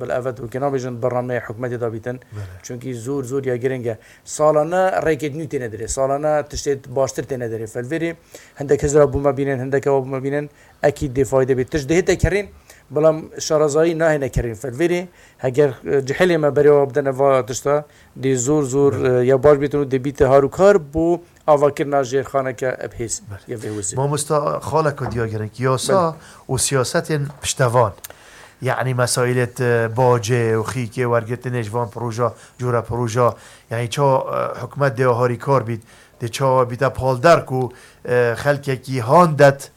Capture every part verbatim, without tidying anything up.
Bil evet, wekî nabêjin bernameyê hikûmetê de bîtin. Belê. Çunkî zor, zor ya giring e. Salane rêkê nû têne derê. Salane tiştê baştir têne derê. Felvêrê hindek hizra bû me bînin, hindek ewa bû me bînin. Ekî dê fayde bê. Tişt dihête kerîn, belam şarazayî nahêne kerîn. Felvêrê heger, e, cihilê me berê wa bidene va tişta, dê zor, zor, Belê. e, ya baş bîtin û dê bîte harûkar bo avakirina jêrxaneke bi hêz Belê. ya vê wizê. Mamosta, xaleka diya gerek. Yasa Belê. û siyasetên piştevan. Yani mesailêt, e, bacê û xîkê wergirtinê ji van proja, cûre proja. Yani ça, e, hikûmet dê harîkar bît, dê çawa bîte palder ku, e, xelkekî handet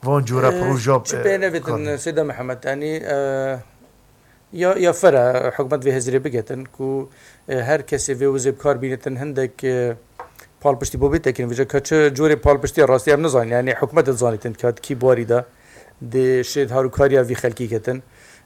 van cûre E, proja, çi e, pê nevetin, kar bît. Seyda Mihemed, yani, e, ya, ya fere hikûmet vê hizrê bigetin ku, e, her kesê vê wizê bi kar bînetin hindek, e, palpiştî bo bê tekin. Vêca ka çi cûrê palpiştiya rastî em nizanin. Yani hikûmet dizanîtin ka kî barî de dê şêd harûkariya vî xelkî ketin.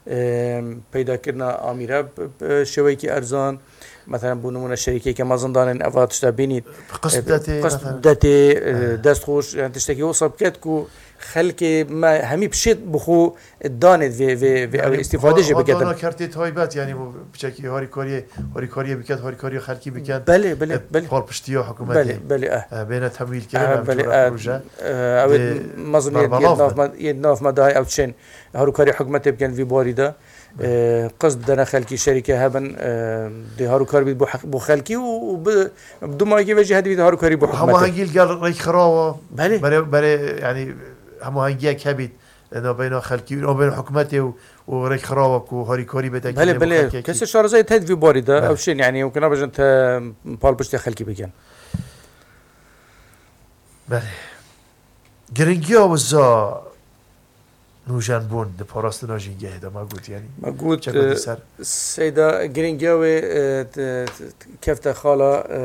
E, peydakirina amîre bi, bi şêweyekî erzan. Mesela bo nimûne şerîkeyeke mezin danên eva tişta bînî. Qist E, bidetê, qist mesela. bidetê, e, Evet. dest xweş, yani tiştekî wisa biket ku xelkê me hemî bi şêd bi xwe danê vê, vê, vê Yani ew îstîfade jî va-, va biketin. dana kertê taybet, yani bu piçekî harîkariyê, harîkariyê biket, harîkariya xelkî biket. Belê, belê, E, belê. Palpiştiya hikûmetê. Belê, belê, eh. E, bêne temwîl kirin, Eh, em belê, jûra eh, proje. eh, ew ê Dê mezin yê, yê berbelavbin. nav me, yê nav me dahê ew çên harûkarî hikûmetê bikin vî barî de. Belê. E, qist bidene xelkî şerîke hebin, e, dê harûkar bît bo heq-, bo xelkî û, û bi, bi dumayekî ve jî hedî bît harûkarî bo hikûmetê. Hemahengî li gel rêkxirawa. Belê. Berê, berê, yani hemahengiyek hebît. E, nabeyna xelkî, nabeyna hikûmetê û, û rêkxirawa ku harîkarî bête Belê, kirin bo belê. xelkekî. Kesê şarazayê tê di vî barî de, Belê. ew şên, yani, ew ke nabêjin te palpiştê xelkî bikin. Belê. Giringiya wiza nûjenbûn di parastina jîngehê de me got, yani. Me got, Çeka e, di ser. Seyda, giringiya wê, e, t-, t-, kefte xala, e,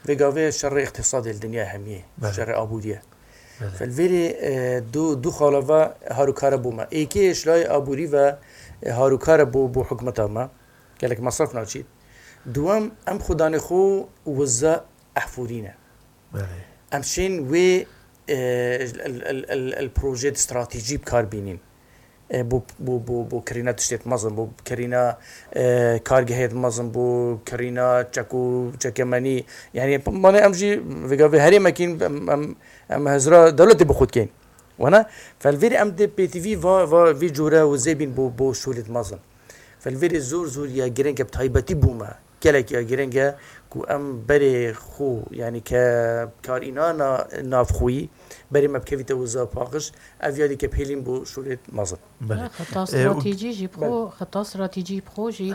vê gavê şerê îqtîsadê li dinya hemiyê, Belê. şerê abûriyê. Belê. Felvêrê, e, du, du xala ve harûkare bû me. Êkê ji layê abûrî ve, e, harûkare bû, bû hikûmeta me. Gelek mesref naçît. Duwem, em xudanê xwe wiza ehfûrî ne. Belê. Em şên wê, e, el, el, el, el projeyê stratejî bi kar bînîn. E, bo, bo, bo, bo kirîna tiştê mezin, bo kirîna, e, kargehê mezin, bo kirîna çek û çekemenî. Yani, mane em jî vêga vê herêmekîn, em, em, em hizra dewletê bi xwe dikeyn. Wana, felvêrê em dê pêtivî va, va vî cûre û zêbîn bo, bo şûlê mezin. Felvêrê zor zor ya giring e, bi taybetî bo me. Gelek ya giring e ku em berê xwe, yani ke karîna na-, navxweyî, berê me bikevîte wiza paqij, ev yadî ke pêlîn bo şûlê mezin. Belê. Xeta E, û stratejî jî bi xwe, Belê. xeta stratejî bi xwe jî,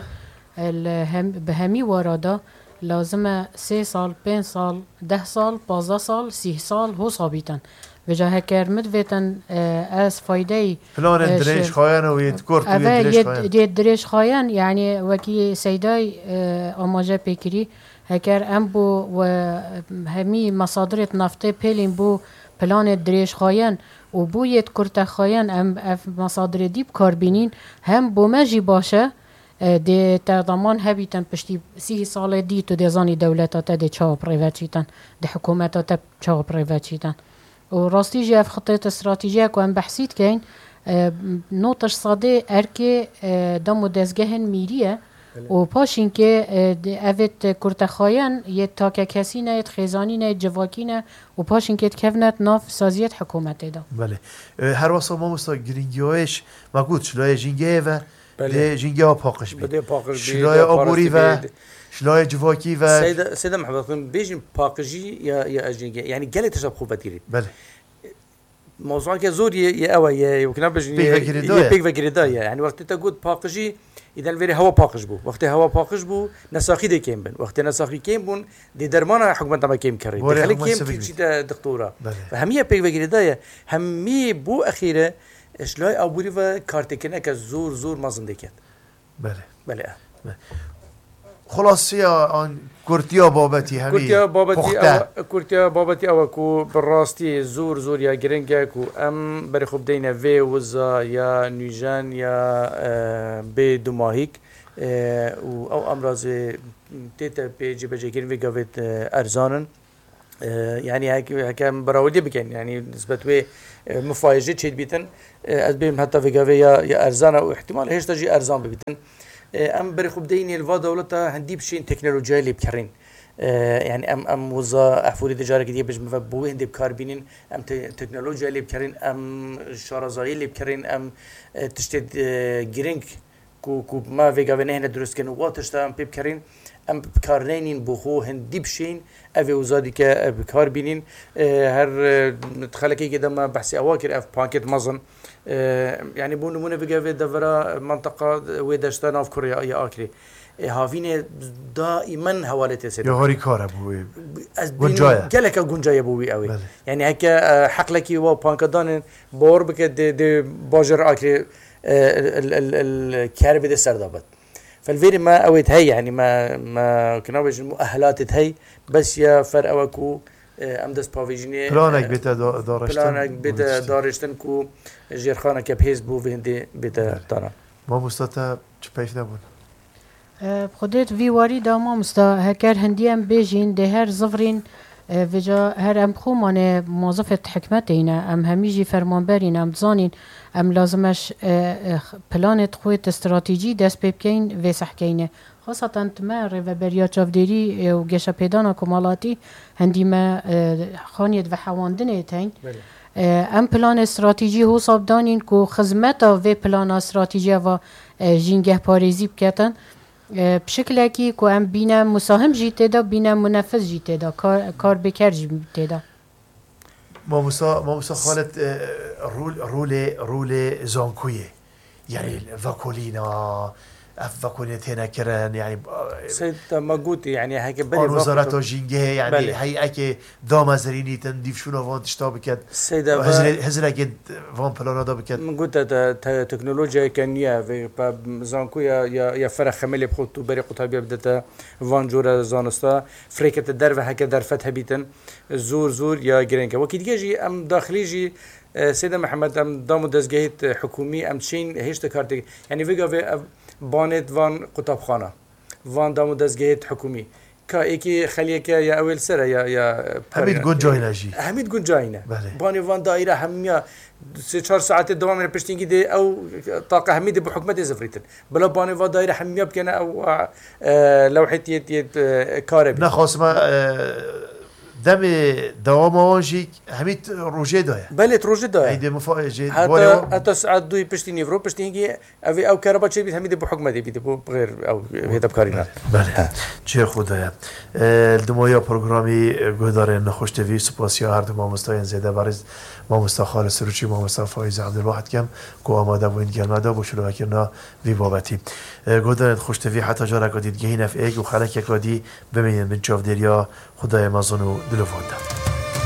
e, li hem, bi hemî wara de lazim e sê sal, pênc sal, deh sal, pazdeh sal, sîh sal ho sabîtin. Vêca heker min divêtin, e, ez faydeyî, Planên e, dirêj şi-, xayan û yê kurt û yê eve dirêj yê, xayan. yê dirêj xayan, yani wekî Seydayê, e, amaje pê kirî, heker em bo we hemî mesadirêt naftê pêlîn bo planê dirêj xayan û bo yê kurte xayan em ev mesadirê dî bi kar bînîn, hem bo me jî baş e, e, dê te daman hebîtin piştî sî salê dî tu dê zanî dewleta te dê çawa bi rê ve çîtin, dê hikûmeta te çawa bi rê ve çîtin. Û rastî jî ev xitê stratejî ye ku em behsî dikeyn, e, notej sedê erkê, e, dem û dezgehên mîrî ye. Belê. Û paşînkê, e, di-, evêt kurtexayan yê takekesî ne, yê xêzanî ne, yê civakî ne û paşînkê dikevne di nav saziyê hikûmetê de. Belê. E, her wesa mamosta giringiyayê ji, me got, ji layê jîngehê ve, Belê. dê jîngeha paqij bî. Bi dê paqij bî, Ji dê layê aborî parastî ve, bî. ji layê civakî ve. Seyda, Seyda Mihemed, bêjin paqijî ya, ya jîngehê. Yani gelek tişta bi xwe vedigirît. Belê. Mewzueke zor yê, yê ew e, yê, yê wekî nabêjin, Pêk yê, ve girêdayî yê ye. pêk ve girêdayî ye. Yani wextê te got paqijî, îden vêrê hewa paqij bû. Wextê hewa paqij bû, nesaxî dê kêm bin. Wextê nesaxî kêm bûn, dê dermana hikûmeta me kêm kerî. Dê Borê xelk hikûmet kêm sivik bî. çîte dixtora. Belê. Ve hemiye pêk ve girêdayî ye. Hemî bo exîre, ji layê aborî ve kartêkirineke zor, zor mezin dê ket. Belê. Belê. Belê. Xulasiya an kurtiya babetî hemî Kurtiya babetî puxte. ew, kurtiya babetî ew e ku bi rastî zor, zor ya giring e ku em berê xwe bideyne vê wiza ya nûjen ya, e, bê dumahîk, e, û ew emrazê tête pê cîbecêkirin vê gavê, e, erzan in. E, yanî hek-, heke em berawilî bikin, yanî nisbet wê, e, mifayê jê çêdibîtin, e, ez bêm heta vêgavê ya, ya erzan e û ihtimal hêşta jî erzan bibîtin. E, em berê xwe bideyînê li va dewleta hindî bişên teknolojiyayê lê bikerîn. E, yanî em, em wiza ehfûrî de carekî dî bêjim ve bo wê hindê bi kar bînin, em te-, teknolojiyayê lê bikerîn, em şarazayê lê bikerîn, em, e, tiştê, e, girîng ku, ku me vêgavê nehêne dirust kirin û wa tişta em pê bikerîn, em bi kar neynin bo xwe hindî bişên, ev ê wiza dîke, e, bi kar bînin. E, her, e, xelekekê de me behsê ewa kir, ev pankêt mezin. E, yanî bo nimûne vêgavê devera mentaqa wê deşta nav kurê ya, ya Akrê. E, havînê daîmen hewaletê sê. Ya harîkar e bo wê. Ez Guncaye. Geleke guncaye bo wî ew ê. Belê. Yanî heke, e, heqlekî wa panka danên, bawar bike dê, dê bajêr Akrê, e, el, el, el, el, kerê bide ser de bit. Felvêrê me ew ê hey, yanî me, me, kina bêjin, muehelatê hey, bes ya fer ew e ku, e, em dest pavêjinê, Planek e, bête da-, dariştin planek û bête tiştê. Dariştin ku jêrxaneke bihêz bû vê hindê bête Belê. Dana. Mamosta te çi peyv nebûn? E, bi Xwedê di vî warî de mamosta, heker hindî em bêjîn, dê her zivrîn, e, vêca her em xwe mane mozifê hikmetê ne, em hemî jî fermanberîn, em dizanîn, em lazim e ş-, e, e, planê xwe di stratejî dest pê bikeyn vê sehkeyne. Xasatan di me rêveberiya çavdêrî, e, û geşepêdana komalatî hindî me, e, xaniyê di vehewandinê teyn. Belê. E, em planê stratejî hosa bidanîn ku xizmeta vê plana stratejî eva, e, jîngehparêzî biketin. E, bi şiklekî ku em bîne musahim jî tê de, bîne munefiz jî tê de, kar, karbêker jî tê de. Mamosta, Mamosta Xalid, e, rol-, rolê, rolê zankuyê, yanî vekolîna, ev vekolîne têne kirin, yanî, e, Seyda me gotî, yanî heke berê an wezareta jîngehê, yanî Belê. Heyekê damezirînîtin, dîvşûna van tişta biket, Seyda ve- hizre-, hizrekê van plana da biket. Min got te, te, teknolojiyayeke nû ye, vê pe zankoya ya, ya fera xemelê bi xwe tu berê qutabiya bidete van cora zanista, firêkete derve heke derfet hebîtin, zor, zor ya girêng e. Wekî dîge jî em daxilî jî, e, Seyda Mihemed, em dam û dezgehêt, e, hikûmî em çîn hêşta kar tê. Yanî vê gavê ev banêt van qutabxana, van dam û dezgehêt hikûmî. Ka êkî xeliyeke ya ew ê li ser e, ya, ya, Hemî di guncayî ne jî. Hemî di guncayî ne. Belê. Banê van daîre hemiya sê çar saetê dewam re piştîngî dê ew taqa hemî dê bi hikûmetê zivrîtin. Bila banê van daîre hemiya bikene ew, e, lewhê tiyê, tiyê, e, kare bî. Nexasime, e, demê dewama wan jî hemî t-, rojê daye. Belê, tu rojê daye. Eydê mifa-, jê Heta, barê wan heta saet duyê piştî nîvro, piştîngî Ev ê ew kereba çêbît, hemî dê bi hikûmetê bît, bo bi xêr ew hêdebkarî ne. Belê. He. Çê xwe de ye. E, li dimaya programî, e, guhdarên Nexweş T V, spasiya her du mamostayên zêde berîz, mamosta Xalid Sirûçî, mamosta Faiz Abdulwahid kem, ku amade bûn gel me de bo şirovekirina vî babetî. E, guhdarên Nexweş T V, heta careka dî digehîn ev êk û xelekeka dî bimînin bin çavdêriya Xwedayê mezin û dilovan de.